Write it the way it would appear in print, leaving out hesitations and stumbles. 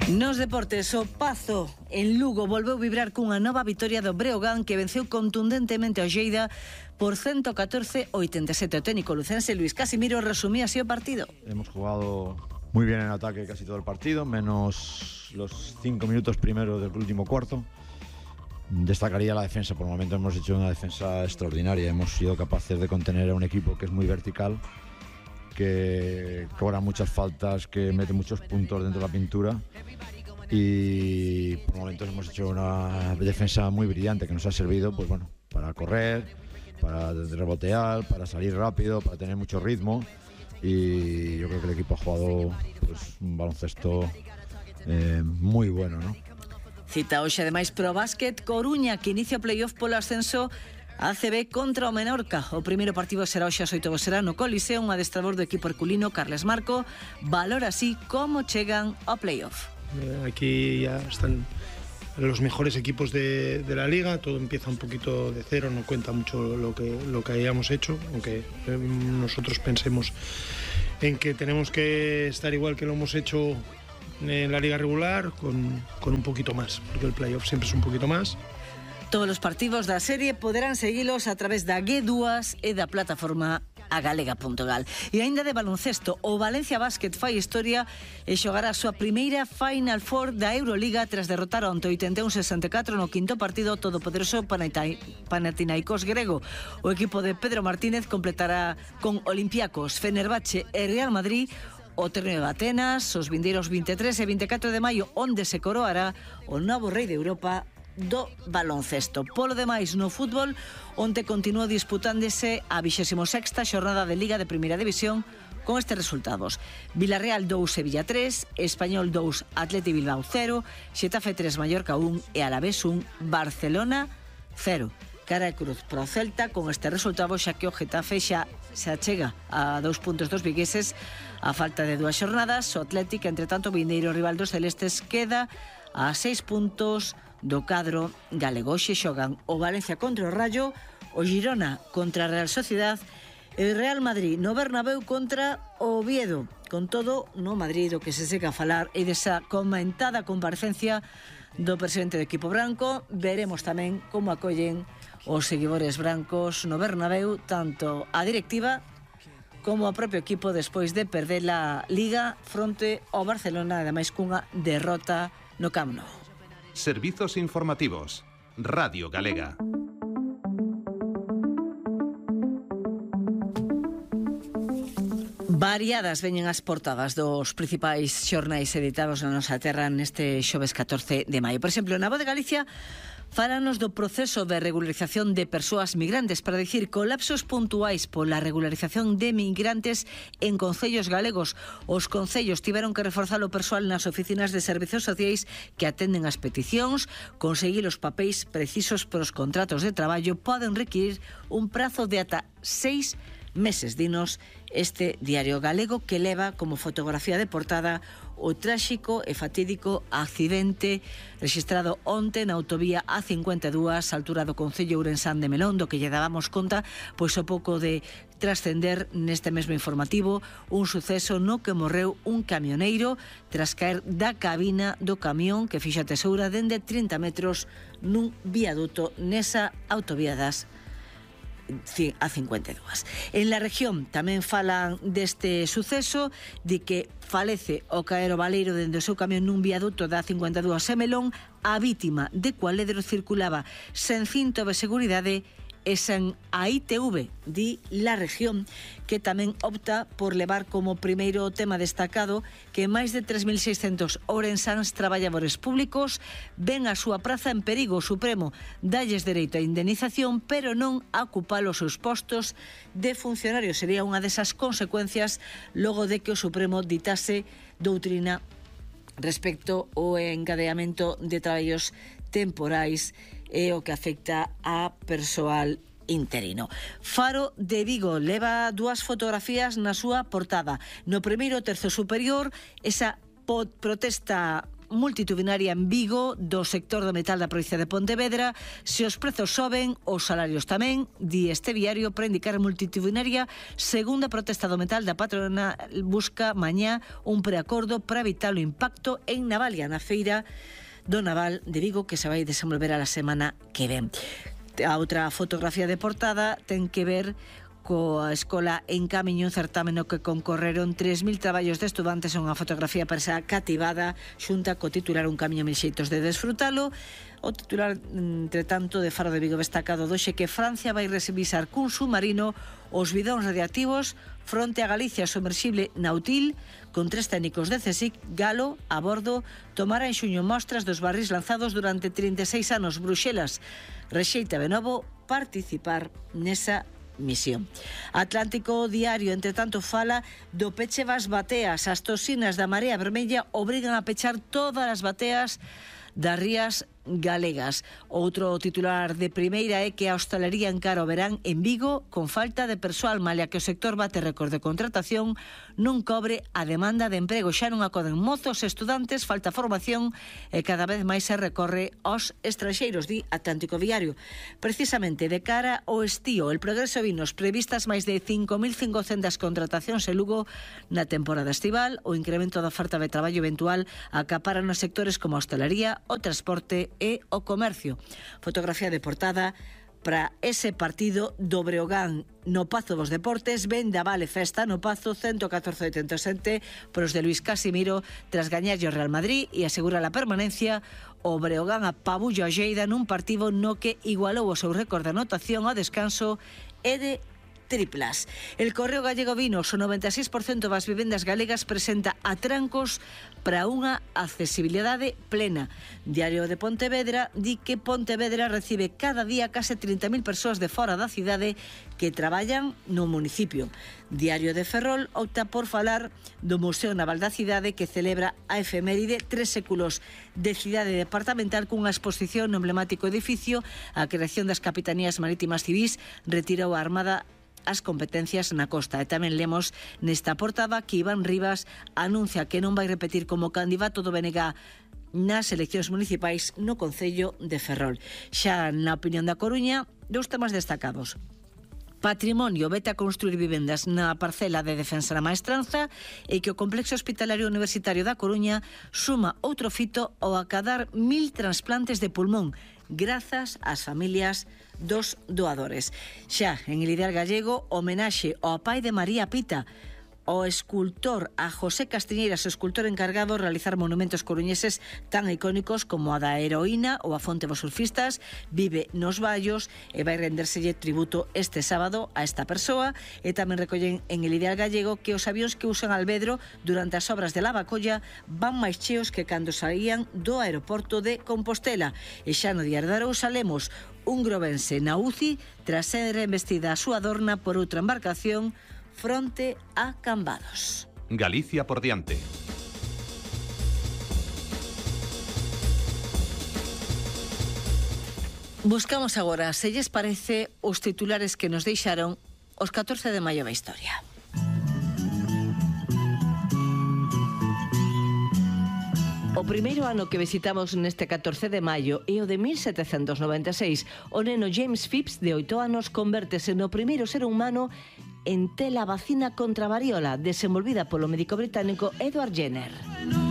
Nos deportes, o Pazo en Lugo volveu vibrar cunha nova vitoria do Breogán que venceu contundentemente ao Lleida por 114-87. O técnico lucense Luis Casimiro resumía así o partido. Hemos jugado muy bien en ataque casi todo el partido, menos los 5 minutos primeros del último cuarto. Destacaría la defensa, por el momento hemos hecho una defensa extraordinaria, hemos sido capaces de contener a un equipo que es muy vertical, que cobra muchas faltas, que mete muchos puntos dentro de la pintura, y por momentos hemos hecho una defensa muy brillante que nos ha servido, pues bueno, para correr, para rebotear, para salir rápido, para tener mucho ritmo, y yo creo que el equipo ha jugado pues un baloncesto muy bueno, ¿no? Cita hoxe ademais pro básquet Coruña, que inicia o playoff polo ascenso ACB contra o Menorca. O primeiro partido será hoxe ás 8 do será no Coliseo. Un adestrador do equipo herculino, Carles Marco, valora así como chegan ao playoff. Aquí ya están los mejores equipos de la liga, todo empieza un poquito de cero, no cuenta mucho lo que hayamos hecho, aunque nosotros pensemos en que tenemos que estar igual que lo hemos hecho en la liga regular, con un poquito más, porque el playoff siempre es un poquito más. Todos os partidos da serie poderán seguilos a través da G2 e da plataforma agalega.gal. E aínda de baloncesto, o Valencia Basket fai historia e xogará a súa primeira Final Four da Euroliga tras derrotar onte 81-64 no quinto partido todopoderoso Panathinaikos grego. O equipo de Pedro Martínez completará con Olympiacos, Fenerbahce e Real Madrid o terreno de Atenas os vindeiros 23 e 24 de maio, onde se coroará o novo rei de Europa do baloncesto. Polo demais, no fútbol, onte continuou disputándose a 26ª xornada de Liga de Primeira División con estes resultados: Villarreal 2, Sevilla 3, Español 2, Atleti Bilbao 0, Xetafe 3, Mallorca 1 e Alavés 1, Barcelona 0. Cara de cruz pro Celta con este resultado, xa que o Getafe xa se achega a 2 puntos dos vigueses a falta de 2 xornadas. O Atlético, entre tanto, vindeiro rival dos celestes, queda a 6 puntos do cadro galego. Hoxe xogan o Valencia contra o Rayo, o Girona contra a Real Sociedad e o Real Madrid no Bernabéu contra o Oviedo. Con todo, no Madrid o que se seca a falar e desa comentada comparecencia do presidente do equipo branco. Veremos tamén como acollen os seguidores brancos no Bernabéu, tanto a directiva como o propio equipo, despois de perder a Liga fronte ao Barcelona, ademais cunha derrota no Camp Nou. Servizos informativos. Radio Galega. Variadas veñen as portadas dos principais xornais editados na nosa terra neste xoves 14 de maio. Por exemplo, na Voz de Galicia fálanos do proceso de regularización de persoas migrantes, para dicir colapsos puntuais pola regularización de migrantes en concellos galegos. Os concellos tiveron que reforzar o persoal nas oficinas de servizos sociais que atenden as peticións. Conseguir os papéis precisos para os contratos de traballo poden requirir un prazo de ata 6 meses, dinos este diario galego, que leva como fotografía de portada o tráxico e fatídico accidente registrado onte na autovía A52, altura do concello ourensán de Melón, do que lle dábamos conta pois o pouco de trascender neste mesmo informativo, un suceso no que morreu un camioneiro tras caer da cabina do camión que fixa tesoura dende 30 metros nun viaduto nesa autovía das A52. En la región tamén falan deste suceso, de que falece o caer o baleiro dende o seu camión nun viaduto da A52 en Melón. A vítima de Cualedro circulaba sen cinto de seguridade e sen a ITV, di La Región, que tamén opta por levar como primeiro tema destacado que máis de 3.600 ourensáns traballadores públicos ven a súa praza en perigo. O Supremo dalles dereito a indemnización, pero non a ocupar os seus postos de funcionarios. Sería unha desas consecuencias logo de que o Supremo ditase doutrina respecto ao encadeamento de traballos temporais e o que afecta a persoal interino. Faro de Vigo leva 2 fotografías na súa portada. No primeiro terzo superior, esa protesta multitudinaria en Vigo do sector do metal da provincia de Pontevedra. Se os prezos soben, os salarios tamén, di este diario, para indicar multitudinaria segunda protesta do metal da patrona busca mañá un preacordo para evitar o impacto en Navalia, na feira do Naval de Vigo, que se vai desenvolver a la semana que ven. A outra fotografía de portada ten que ver coa escola en Camiño, un certamen no que concorreron 3.000 traballos de estudantes. Unha fotografía persa cativada xunta co titular Un camiño mil xeitos de desfrutalo. O titular, entre tanto, de Faro de Vigo destacado doxe que Francia vai revisar cun submarino os bidóns radiactivos fronte a Galicia. Sumerxible Nautil con 3 técnicos de CSIC Galo a bordo tomará en xuño mostras dos barris lanzados durante 36 anos. Bruxelas rexeita de novo participar nesa misión. Atlántico Diario, entre tanto, fala do peche das bateas. As toxinas da Marea Vermella obrigan a pechar todas as bateas das rías galegas. Outro titular de primeira é que a hostalería encara o verán en Vigo con falta de persoal, malia que o sector bate récord de contratación, non cobre a demanda de emprego. Xa non acoden mozos e estudantes, falta formación e cada vez máis se recorre aos estranxeiros, di Atlántico Diario. Precisamente de cara ao estío, el Progreso Vinos previstas máis de 5.500 contratacións en Lugo na temporada estival. O incremento da oferta de traballo eventual acapara nos sectores como a hostalería, o transporte e o comercio. Fotografía de portada para ese partido do Breogán no Pazo dos Deportes. Vendaval e festa no Pazo, 114-87 por os de Luis Casimiro tras gañarlle o Real Madrid e asegura a permanencia. O Breogán apabulla o Lleida nun partido no que igualou o seu récord de anotación ao descanso e de triplas. El Correo Gallego Vinos, o 96% das vivendas galegas presenta atrancos para unha accesibilidade plena. Diario de Pontevedra di que Pontevedra recibe cada día case 30.000 persoas de fora da cidade que traballan no municipio. Diario de Ferrol opta por falar do Museo Naval da Cidade, que celebra a efeméride 3 séculos de cidade departamental cunha exposición no emblemático edificio. A creación das capitanías marítimas civís retirou a Armada as competencias na costa. E tamén lemos nesta portada que Iván Rivas anuncia que non vai repetir como candidato do BNG nas eleccións municipais no concello de Ferrol. Xa na opinión da Coruña, dous temas destacados. Patrimonio vete a construir vivendas na parcela de defensa da Maestranza e que o Complexo Hospitalario Universitario da Coruña suma outro fito ao acadar 1.000 trasplantes de pulmón grazas ás familias dos doadores. Xa en el Ideal Gallego, homenaxe ao pai de María Pita, o escultor a José Castiñeiras, o escultor encargado de realizar monumentos coruñeses tan icónicos como a da Heroína ou a Fonte dos Surfistas. Vive nos Vallos e vai rendérselle tributo este sábado a esta persoa. E tamén recollen en el Ideal Gallego que os avións que usan Albedro durante as obras de Lavacolla van máis cheos que cando saían do aeroporto de Compostela. E xa no Diario de Arousa lemos un grovense na UCI tras ser embestida a súa dorna por outra embarcación fronte a Cambados. Galicia por diante. Buscamos agora, se lles parece, os titulares que nos deixaron os 14 de maio da historia. O primeiro ano que visitamos neste 14 de maio é o de 1796. O neno James Phipps, de 8 anos, convértese no primeiro ser humano en ter a vacina contra a variola, desenvolvida polo médico británico Edward Jenner.